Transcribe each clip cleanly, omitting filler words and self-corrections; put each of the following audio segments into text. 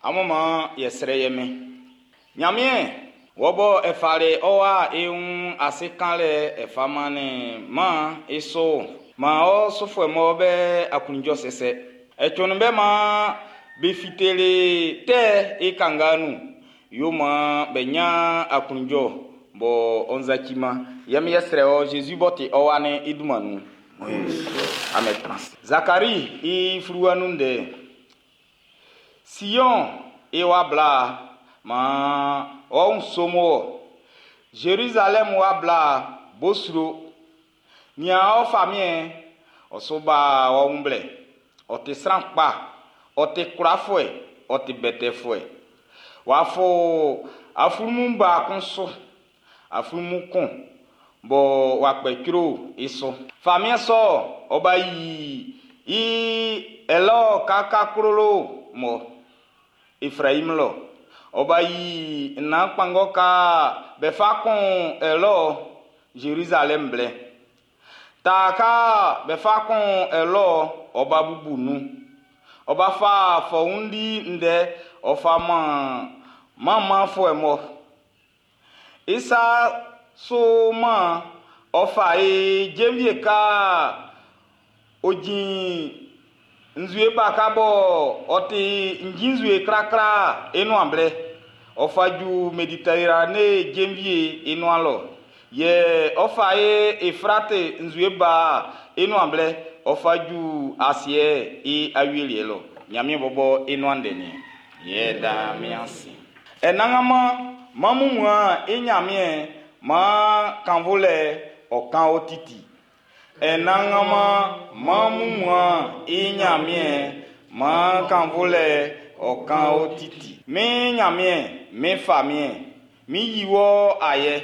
Amun maan yɛ srɛ yɛ min. Ɲanmiɛn, wɔ bɔ e fali ɔ wa i wun ase kanlɛ e fa mannin maan i so maan ɔ sufuɛ mɔ be aklunjɔ sɛsɛ. E cunnin be maan be fiteli tɛ i kanga nun. Yo maan be ɲan aklunjɔ bɔ ɔ nzaciman. Yɛ mi yɛ srɛ ɔ Zezi b'ɔ ti ɔ wa'n i dunman nun. Amen trans. Zakari i fluwa nun ndɛ. Sion i wa bla maan ɔ wun somo wɔ. Zerizalɛm wa bla bo sro. Nian ɔ famiɛn ɔ su ba ɔ wun blɛ. Ɔ ti sran kpa, ɔ ti kwlafuɛ, ɔ ti bɛtɛfuɛ. W'a fo aflunmun ba kun su, aflunmun kun bɔ w'a kpɛ cro i su. Famiɛn sɔ ɔ ba yi i ɛlɔ kakaklolo mɔ Efraim lɔ. Ɔ ba yi nnan kpanngɔ ka be fa kun ɛlɔ Zerizalɛm blɛ. Ta ka be fa kun ɛlɔ ɔ ba bubu nun. Ɔ ba fa fɔundi ndɛ ɔ fa man manmanfuɛ mɔ. Isa so man ɔ fa e jenvie ka ojin nzue ba ka bɔ ɔ ti njin nzue krakra i nuan blɛ. Ɔ fa ju Mediterane jenvie i nuan lɔ. Yɛ ɔ fa e Efrate nzue ba i nuan blɛ. Ɔ fa ju asiɛ i awieliɛ lɔ. Ɲanmiɛn bɔbɔ i nuan ndɛ niɛn. Yɛ da mi ase. Ɛnangama mamu i Ɲanmiɛn maan kanvolɛ ɔ kan o titi. Ɛnangama mamu i Ɲanmiɛn maan kanvolɛ ɔ kan o titi. Mi Ɲanmiɛn, mi famiɛn, mi yi wɔ ayɛ.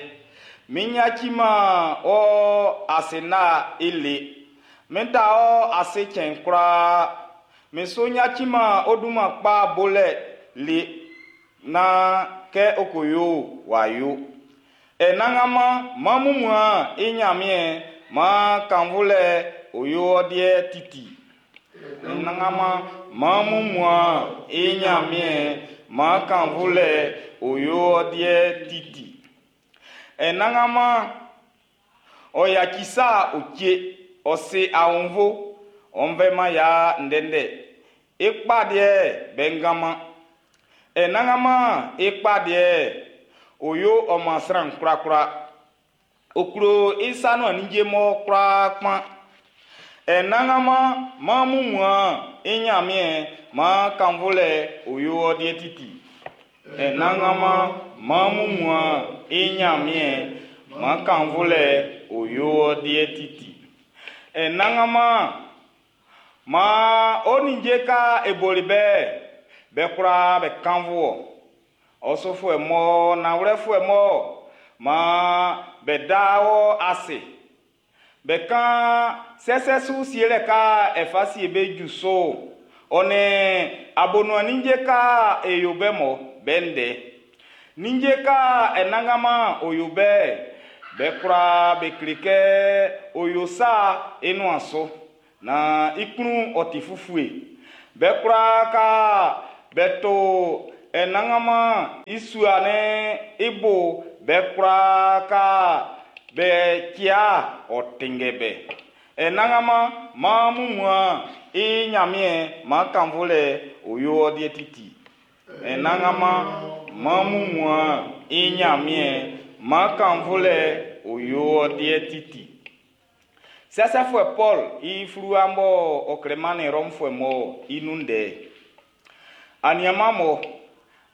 Mi ɲatsima wɔ ase na ile. Mi da wɔ ase cɛn koraa. Mi so ɲatsima o dunman kpa bolɛ le na kɛ o ko yo wa yo. Ɛnangama mamu i Ɲanmiɛn maan kanvolɛ o yo ɔ deɛ titi. Ɛnangama mamu i Ɲanmiɛn maan kanvolɛ o yo ɔ deɛ titi. Ɛnangama ɔ yaci sa o tse ɔ se awonvo ɔnvɛma ya ndɛndɛ. Ekpa deɛ bɛngama. Ɛnangama ekpa deɛ o yo ɔma sran korakora. Okuro isanu anigye mɔ koraa kpan. Ɛnangama mamu i Ɲanmiɛn maan kanvolɛ o yo ɔ deɛ titi. Ɛnangama mamu i Ɲanmiɛn maan kanvolɛ o yo ɔ deɛ titi. Ɛnangama maan o ninje ka eboli bɛ bɛ koraa bɛ kanvo ɔsɔfoɛ mɔ nawlɛfoɛ mɔ maan bɛ da wɔ ase. Bɛ kan sɛsɛ su sielɛ ka ɛfa sie bɛ ju so ɔnɛ abonu ninje ka eyo bɛ mɔ bɛ ndɛ. Ninje ka ɛnangama oyo bɛ bɛ koraa bɛ kle kɛ oyo sa enuan so na ikunu ɔti fufue. Bɛ koraa ka bɛ to ɛnangama isua ne ibo bɛ koraa ka bɛ tia ɔtingɛ bɛ. Ɛnangama mamu i Ɲanmiɛn maan kanvolɛ o yo ɔ deɛ titi. Ɛnangama mamu i Ɲanmiɛn maan kanvolɛ o yo ɔ deɛ titi. Sɛsɛfuɛ Paul i fluwa mɔ ɔ klɛman Rɔmfuɛ mɔ i nun ndɛ. Aniama mɔ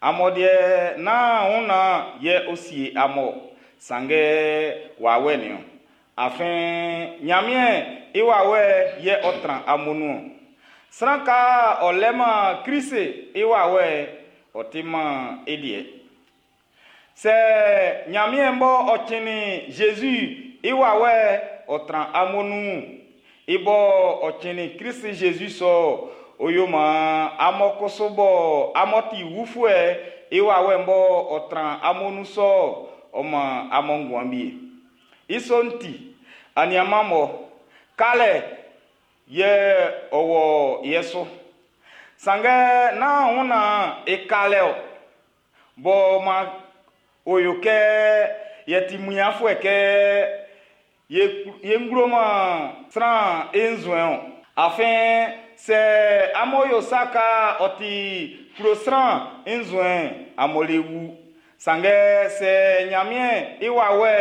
amɔdeɛ na wona yɛ osie amɔ sanngɛ wawɛ niɔ. Afin Ɲanmiɛn i wawɛ yɛ ɔ tran amonu. Sran ka ɔ lɛma Krist i wawɛ ɔ ti man i deɛ. Sɛ Ɲanmiɛn bɔ ɔ tsinnin Jésus i wawɛ ɔ tran amonu. I bɔ ɔ tsinnin Krist Jésus sɔ o yo maan amɔ koso bɔ amɔ ti wufuɛ i wawɛ bɔ ɔ tran amonu sɔ ɔ man amɔ nguan bie. I sɔ'n ti aniama mɔ kalɛ yɛ ɔwɔ yɛ so. Sanngɛ nán hɔnna i kalɛ o. Bɔ ma o yo kɛ yɛ ti muafuɛ kɛ ye ngloma sran i nzuɛn o. Afin sɛ amun yo saka ɔ ti klo sran i nzuɛn amun le wu. Sanngɛ sɛ Ɲanmiɛn i wawɛ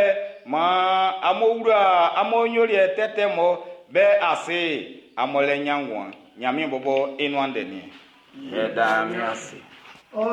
maan amun wla amun nyoliɛ tɛtɛ mɔ be ase amun le ɲan nguan. Ɲanmiɛn bɔbɔ i nuan ndɛ niɛn. Yɛda mi ase. Ɔ.